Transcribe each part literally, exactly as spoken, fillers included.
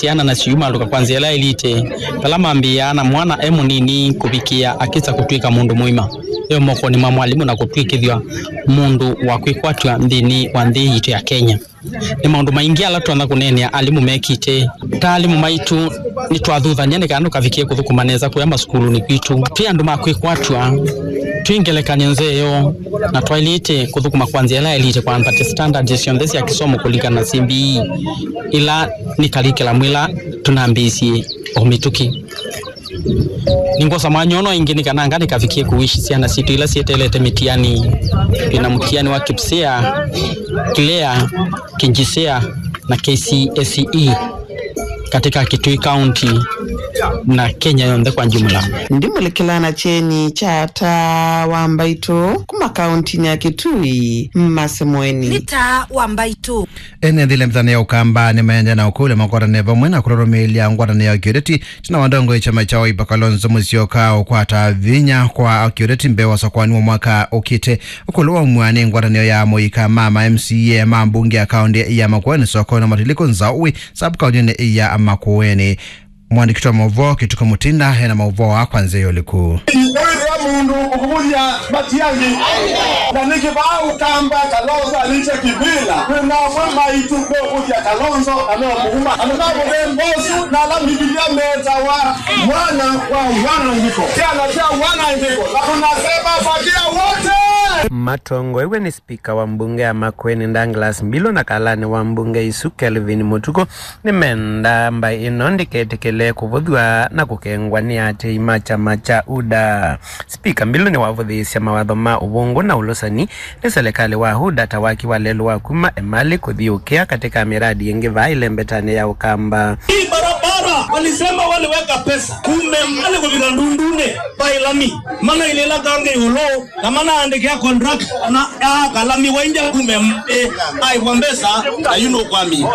Syana nasyo iumalũka kwa nzĩa ĩla ĩlĩte, vala mambĩĩaa na mwana e mũnini kũvikĩa akĩsa kũtw'ĩka mũndũ mũima, e mokonĩ ma mwalimũ na kũtw'ĩkĩthw'a mũndũ wa kwĩkwatw'a nthĩnĩ wa nthĩ yitũ ya Kenya. Nĩ maũndũ maingĩ ala tũtonya kũneenea alimũ mekĩte. Ta alimũ maitũ, nĩtwathuthany'a nĩ kana tũkavikĩe kũthũkũma nesa kũya masukulunĩ kwitũ. Twĩ andũ ma kwĩkwatw'a, twĩ ngelekany'o nzeo, na twaĩlĩte kũthũkũma kwa nzĩa ĩla yaĩlĩte kwambatya standards syonthe sya kĩsomo kũlika na C B E, ĩla nĩ curriculum ĩla tũnambĩĩsye o mĩtũkĩ. Nĩngwosa mwanya ũno ĩngĩ nĩ kana anga nĩkavikĩe kũwishi syana sitũ ila syeteelete mĩtiani. Twĩ na mũtiani wa KPSEA, KLEA, KJSEA na K C S E katika Kitui County na Kenya yonthe kwa jumla. Ndimũlikĩla na kyeni kya Taa wa Mbaitũ kuma kauntinĩ ya Kitui, Masemweni. Nĩ Taa wa Mbaitũ. Ene nthĩ ila mĩthane ya Ũkamba nĩmaendee na ũkũlya makwatanĩe vamwe na kũrũrũmĩĩlya ngwatanĩo ya kĩũteti ĩtina wa ndongoi kyama kya Wiper Kalonzo Musyoka ũkwata vinya kwa kĩũteti mbee wa ũsakũani wa mwaka ũkĩte. Ũkũlũ wa umw'a nĩ ngwatanĩo ya mũika ma ma M C A ma mbunge ya kaũntĩ ya Makueni, sokoni na Matilikũ Nzaũi, sub-kaũntĩnĩ ya Makueni. Mwandĩki wa maũvoo Kĩtukũ Mũtinda ena maũvoo aa kwa nzĩa ya ũliku. Wĩthĩa mũndũ ũkũvũthya Matiang'i, na nĩkĩ vaa Ũkamba Kalonzo alĩte kĩvĩla? Kwĩ namwe maitũ meũvũthya Kalonzo na meũmũuma. Andũ ma mũthemba ũsu na ala Mbivilia metawa mwana wa wanangĩko, syana sya wanangĩko, na tunasema fagia wote. Matongoew'e nĩ spika wa mbunge ya Makueni Douglas Mbilũ na kalanĩ wa mbunge ĩsu Kelvin Mũtukũ, nĩmendaa mbaĩ ĩno ndĩketĩkĩle kũvũthw'a na kũkengwa nĩ aatĩĩi ma kyama kya UDA. Spika Mbilũ nĩwavũthĩĩsya mawatho ma ũvũngũ na ũlũsani nĩ selekalĩ wa UDA ta waki wa lelũ wa kuma Emali kũthi Ũkĩa katĩ ka mĩradi ĩngĩ vaa ĩlembetanĩ ya Ũkamba. Hii barabara walisema waliweka pesa, kume Emali kũvika Ndundunĩ, vaĩ lami, manailĩla kangĩ ĩũlũ. Na manaandĩkĩa contract na aka lami waingya kuma M A aĩvwa mbesa na yu nũkwamie.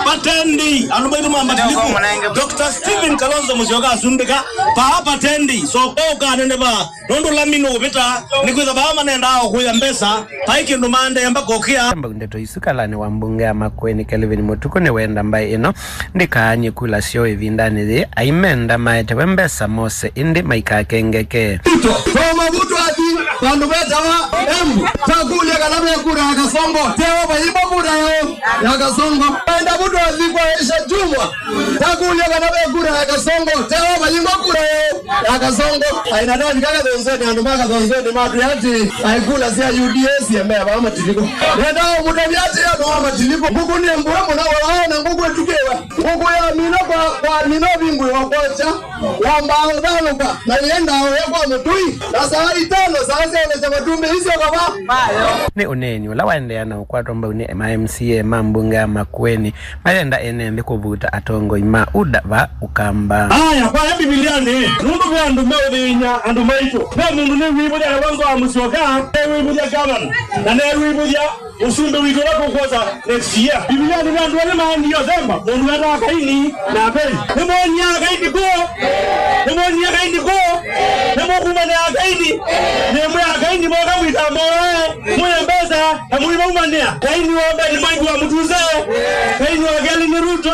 Patendi, andũ maitũ ma Matilikũ, Doctor Stephen Kalonzo Musyoka asumbĩka, vaa patendi, so ũkanene vaa, nũndũ lami nũũvĩta, nĩkwĩtha vaa manendaa o kũya mbesa, vai kĩndũ maendee mbaka Ũkĩa. Mbau ndeto isu kalanĩ wa mbunge ya Makueni Kelvin Mũtukũ nĩwenda mbaĩ ĩno ndĩkaany'e kula syoo ĩvindanĩ yĩĩ, aimenda maetewe mbesa mose ĩndĩ maikakengeke. Ruto, kwa mavuto athi, vandũ vetawa Embu, takũlya kana ve kura ya Kasongo, teo vayĩmbwa kura yao ya Kasongo. Enda vuto athi kwa Aisha Jumwa, takũlya kana ve kura ya Kasongo, teo vayĩmbwa kura yao ya Kasongo. Aina navika Kathonzweni, andũ ma Kathonzweni matwĩa atĩ aikula sya U D A siemea vaa Matilikũ. Nenda ũmũtavya atĩ andũ ma Matilikũ, ngũkũ nĩ mbũe mũno, wala na ngũkũ ĩtukĩwe. Ngũkũ yamina kwa, kwamina ũvingũĩwa kwakya, yambaa ũthalũka, na yĩendaa ũya kwa mũtũi, na saa itano saa syaonekya matumbĩ isyo kava. Nĩ ũneeni ũla waendeea na ũkwatwa mbau nĩ ma M C A ma mbunge ya Makueni, mayenda ene nthĩ kũvuta atongoi ma UDA va Ũkamba. Aya, kwa Mbivilianĩ, nũndũ ve andũ meũthĩny'a andũ maitũ, ve mũndũ nĩwĩvũthya Kalonzo wa Musyoka, newĩvũthya gavana, na newĩvũthya Ũsumbĩ witũ ũla tũkwosa next year. Bibilianĩ ve andũ elĩ maendie ũthemba, mũndũ wetawa Kaini na Abeli. Nĩmwonyie Akaini kũũ? Nĩmwonyie Akaini kũũ? Nĩmũkumanĩa Akaini? Nĩmwĩa Akaini moka mwĩtamboe, mwĩe mbesa, na mũimaumanĩa. Kaini wa mbee nĩ Mwangi wa Mũtuse, Kaini wa kelĩ nĩ Ruto,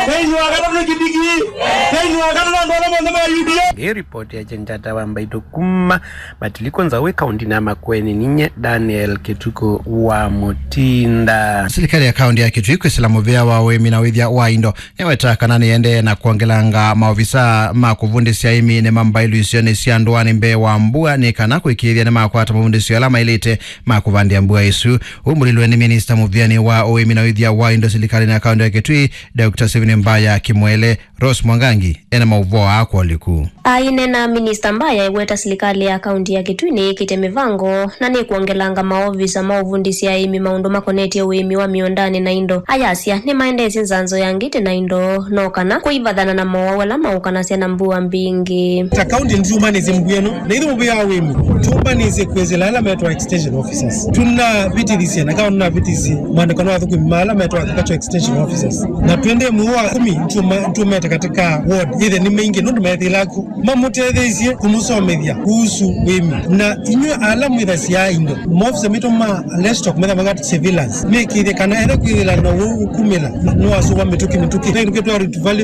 Kaini wa katatũ nĩ Kidiki, Kaini wa katatũ andũ ala monthe ma U D A. Nĩ ripoti ya Chenjata wa Mbaitũ kuma Matilikũ Nzaũi, kaũntĩnĩ ya Makueni, ninye Daniel Kĩtukũ wa Mũtinda. Silikalĩ ya kaũntĩ ya Kitui kwĩsĩla mũvĩa wa ũĩmi na ũĩthya wa indo nĩwetaa kana nĩyendee na kwongelanga maovisa ma kũvundĩsya aĩmi nĩ mambaĩlu isionĩ sya ndũanĩ mbee wa mbua nĩ kana kũĩkĩĩthya nĩmakwata mavundĩsyo ala maĩlĩte ma kũvandĩa mbua ĩsu. Ũmbũlĩlwe nĩ minista mũvĩanĩ wa ũĩmi na ũĩthya wa indo silikalĩnĩ ya kaũntĩ ya Kitui, Doctor Stephen Mbaya Kimwele. Rose Mwangangi ena maũvoo aa kwa ũliku. Aineena, Minista Mbaya eweta silikalĩ ya kaũntĩ ya Kitui nĩyĩkĩte mĩvango na nĩkwongelanga maovisa ma ũvundĩsya aĩmi maũndũ makonetye ũĩmi wa mĩũndanĩ na indo. Ayasya nĩmaendeesye nzanzo ya ngitĩ na indo, no kana kũivathana na mowau ala maũkanasya na mbua mbingĩ. Ta kaũntĩ nĩtũmbanĩsye mbua ĩno, na ithyĩ mũvĩa wa ũĩmi tũmbanĩsye kwĩsĩla ala metwa extension officers. Tũnavĩtĩthisye, na kana nĩnavĩtĩsye mwandĩko wa athũkũmi ma ala metwa agricultural extension officers. Na twendee mũo wa kũmi nĩtũma-, nĩtũmete katika ward, either nĩ maingĩ nũndũ methĩlaku mamũtetheisye kũmũsomethya kuhusu wĩmi. Na inyw'ĩ ala mwĩthasya indo, maofisa maitũ ma livestock metha makat surveillance mĩkĩthye kana ethe kwĩthĩla na ũu ũkumĩla nĩwasũva mĩtũkĩ mĩtũkĩ. Tũkĩtwa Rift Valley